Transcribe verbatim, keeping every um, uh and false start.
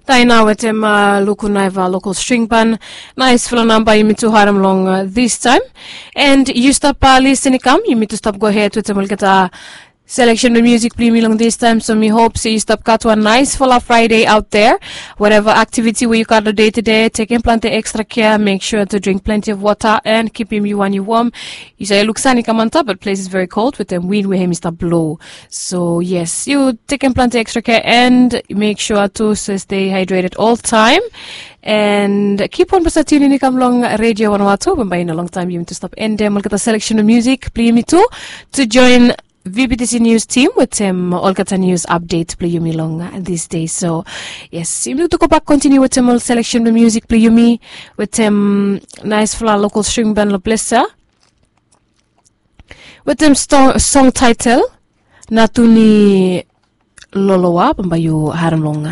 Daina wetem luku naiva lokol string ban. Nais fala namba yumi tu harem long this time. And yu stap lisin i kam yumi tu stap go ahed wetem olgeta selection blong music blong yumi long this time. So mi hop se yu stap gat wan nais fala Friday out there. Whatever activity we yu gat long day to day, tekem planti extra care, make sure to drink plenty of water and kipim yu wan yu warm. Yu save luk san i kam antap, but place is very cold wetem win we hem i stap blow. So yes, yu tekem planti extra care and make sure tu se stay hydrated all time. And kip on basa tunin i kam long radio wan wato bambai na long time yumi tu stap endem olgeta selection of music blong yumi tu to join V B T C news team wetem olgeta news update blong yumi long this day. So yes, yumi tu go bak continue wetem ol selection blong music blong yumi wetem nais fala lokol string ban long plesa wetem song title natuni lolowa bambai yu harem long